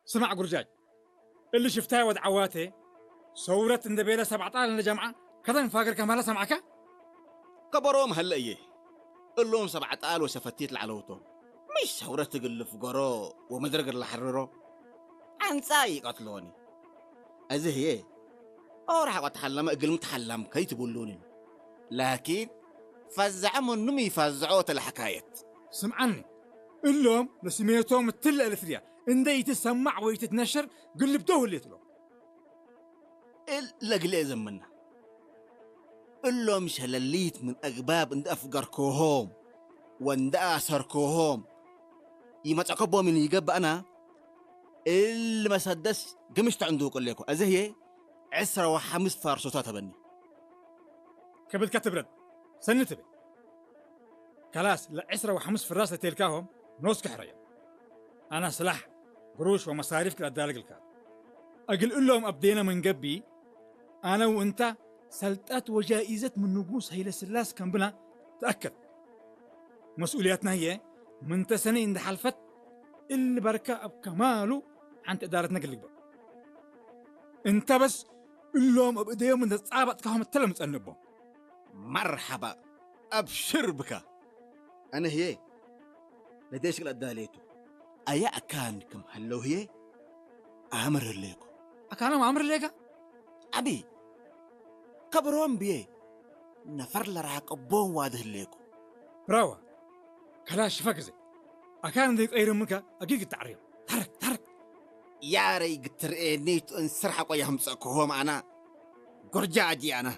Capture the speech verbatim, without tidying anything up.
ስማዕ ጉርጃጅ፣ እሊ ሽፍታይ ወድ ዐዋቴ ሰውረት እንዴ ቤለ ሰብ ዐጣል እንዴ ጀምዐ ከተን ፋግር ከማለ ሰምዐከ? ከበሮም ሀለ እዬ። እሎም ሰብ ዐጣል ወሸፈቲት ለዐለው ቶም። ምሽ ሰውረት እግል ልፍገሮ ወመድረግ ለሐርሮ ዐንጻ ኢቀትሎኒ። እዚ ህዬ ኦራሕ ወተሐለመ እግልሚ ተሐለምከ ኢትቡሉኒ። ላኪን ፈዘዐ ምኑ ሚ ፈዘዖ ተ ለሐካየት። ስምዐኒ፣ እሎም ለስሜቶም እትለ ኤሪትርያ እንዴ ኢትሰማዕ ወኢትትነሸር ግልብደው ህሌት እሎም። እል ለግሌ ዘምና። እሎም ሸለሊት ምን አግባብ እንዴ አፍገርኮሆም ወእንዴ አሰርኮሆም ኢመጸከቦ ምን ኢገብእ አና፣ እል መሰደስ ግምሽ ተዕንዱቁ እሌኮ። አዜ ህዬ ዕስረ ወሐምስ ፋርሶታ ተበኒ። ከብድከ ትብረድ፣ ሰኒ ትቤ። ከላስ፣ ለዕስረ ወሐምስ ፍራስ ለቴልካሆም ኖስክ ሕረዮም። አና ስላሕ፣ ግሩሽ ወመሳሪፍክ ለአዳልግ ልካት። እግል እሎም አብዴነ ምን ገብእ፣ አነ ወእንታ ሰልጠት ወጃኢዘት ምን ንጉስ ሀይለስላስ ከምብና ተአከድ። መስኡልያትና ህዬ ምንተ ሰኒ እንዴ ሐልፈት እሊ በርከ እብ ከማሉ ዐንተ እዳረትነ እግል ልግበእ። እንተ በስ እሎም እብ እደዮም እንዴ ጻበጥካሆም እተ ለምጸንቦም። መርሐባ፣ አብሽር ብካ። አነ ህዬ ለዴሽክ ለአዳሌቱ። አየ አካን ክም ሀለው ህዬ አምር ህሌኮ። አካኖም አምር ህሌከ? አቢ፣ ከብሮም ብዬ ነፈር ለራቀቦም ዋዲ ህሌኮ። ብራዋ፣ ከላሽ ሽፈ ግዜ አካን እንዴ ቀይርምከ አጊድ ግድ ተዐርዮም። ታረክ፣ ታረክ። ያረይ ግትርኤኒቱ እንስር ሐቆ የህምጸክሆም አና ጎርጃ አጂ አና።